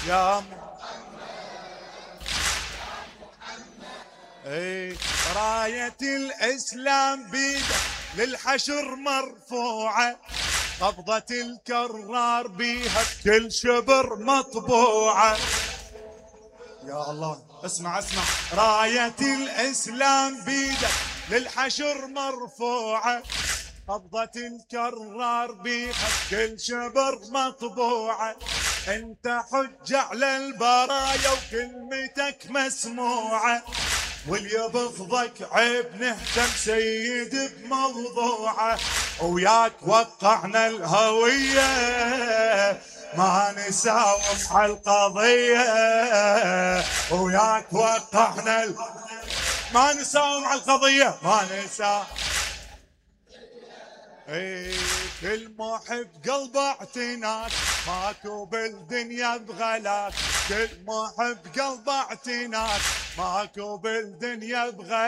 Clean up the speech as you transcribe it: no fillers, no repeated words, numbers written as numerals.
يا اي راية الاسلام بيدك للحشر مرفوعة، قبضة الكرار بيها بكل شبر مطبوعة. يا الله اسمع اسمع، راية الاسلام بيدك للحشر مرفوعة، قبضة الكرار بيها بكل شبر مطبوعة. انت حج على البرايا وكلمتك مسموعة، واللي بفضك عيب نهتم سيد بموضوعه. وياك وقعنا الهوية ما نساوم على القضية، وياك وقعنا ما نساوم على القضية ما نساوم. اي كل محب قلبه اعتناك، ماكو بالدنيا بغلاك. كل محب قلبه اعتناك، ماكو بالدنيا بغلاك.